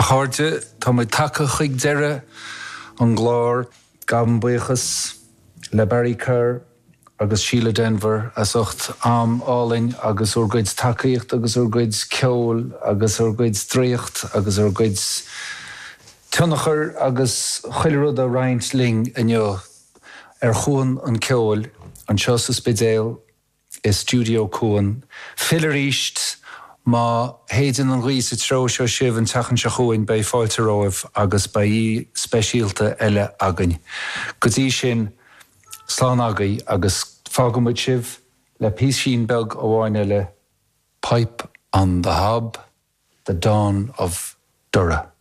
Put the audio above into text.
chairde, tá muid tagtha chuig deireadh an gcláir. Gabhaim buíochas le Barry Kerr agus Síle Denvir as ucht am álainn agus bhur gcuid tacaíocht agus bhur gcuid ceoil agus bhur gcuid draíocht agus bhur gcuid tionchair agus chuile rud a roinnt linn inniu ar Chuan an Cheoil anseo sa Spidéal. i Stiúideo Cuan. Fill arís má shéideann an ghaoth sa treo seo sibh an tseachtain seo chugainn, beidh fáilte romhaibh agus beidh aoi speisialta eile againn. Go dtí sin, slán agaibh agus fágfaidh muid sibh le píosín beag amháin eile, Pipe on the Hob, The Dawn of Durra.